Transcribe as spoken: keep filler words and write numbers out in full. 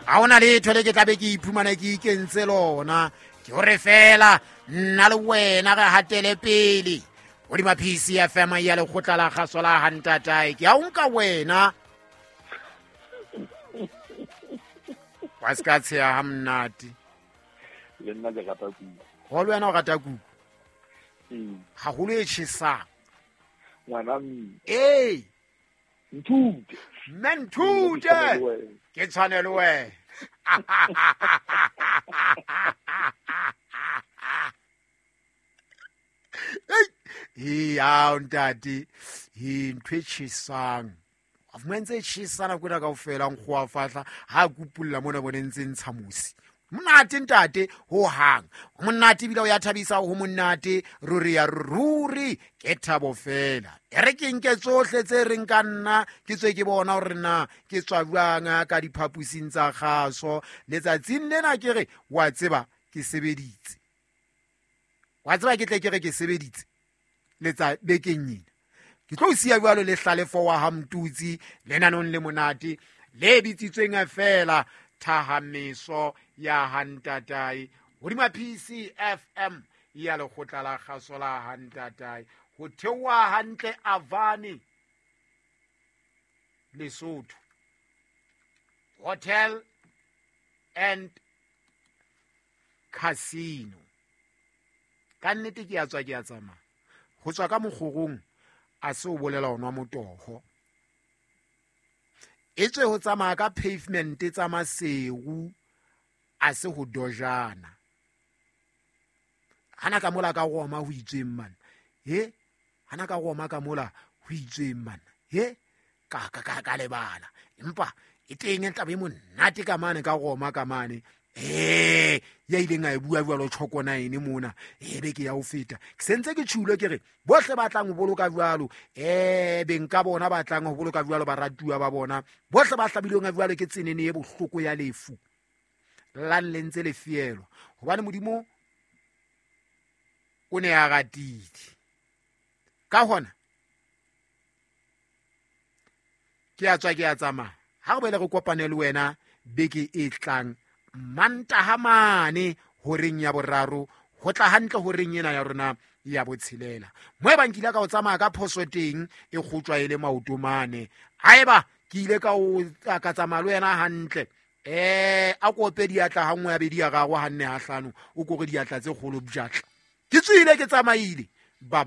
Ga ona letho le ke tlabe ke iphumana ke ikentse lona. Ke hore fela nna le wena re hatele pele hodima P C F M ya lekgotla la kgaso la hantatae. Ke a o nka wena wa se ka tsheha ha monate. Le nna ke rata kuku. Ho le wena o rata kuku? Ee. Haholo e tjhesang. Ngwana mme. Ee. Nthute. Mme nthute. Ke tshwane le wena. Ee, ao ntate. Ee, ntho e tjhesang. A fumana ntse e tjhesa nako ena kaofela, nkgo wa fahla, ha kupulla mona bone ntse ntsha mosi. Monate ntate ho hang. Monate ebile o ya thabisa ho monate, ruri ya ruri ke thabo fela. E re ke nke tsohle tse reng ka nna, ke tswe ke bona hore na ke tswa jwang ka diphapusing tsa kgaso. Letsatsing lena ke re wa tseba ke sebeditse. Wa tseba ke tle ke re ke sebeditse letsa bekeng ena. Ke tlo siya jwalo le Hlalefo wa ha Mtutsi lenanong le monate le bitsitsweng feela Thahameso ya hantatae hodima P C F M ya lekgotla la kgaso la hantatae. Ho theoha hantle Avani Lesotho Hotel and Casino. Ka nnete ke a tswa ke a tsamaya. Ho tswa ka mokgorong a se o bolela ho nwa motoho. E tswe ho tsamaya ka pavement tsa Maseru a se ho dojana. Hana ka mola ka Roma ho itsweng man. He? Hana ka Roma ka mola ho itsweng man. He? Ka ka ka ka lebala. Empa e teng e tlabe monate ka mane ka Roma ka mane. Eh, ya ileng a e bua jwalo tjhoko nine mona. E be ke ya ho feta. Ke sentse ke tjhulo ke re bohle ba tlang ho boloka jwalo, eh beng ka bona ba tlang ho boloka jwalo baratuwa ba bona. Bohle ba hlabilweng jwalo ke tsenene e bohloko ya lefu. Lang le ntse le fielwa. Hobane Modimo o ne a ratile. Ka hona ke a tswa ke a tsamaya. Ha re boele re kopane le wena beke e tlang Mantaha mane horeng ya boraro ho tla hantle horeng ena ya rona ya botshelela. Mo e bang ke ile ka o tsamaya ka phoso teng e kgutjwa e le maoto mane. Haeba ke ile ka o ka tsamaya le wena hantle, eh a kope diatla ha nngwe ya bedi ya gagwe ha nne ha hlano, o kore diatla tse kgolo bjatla. Ke tswile ke tsamaile. Bye bye.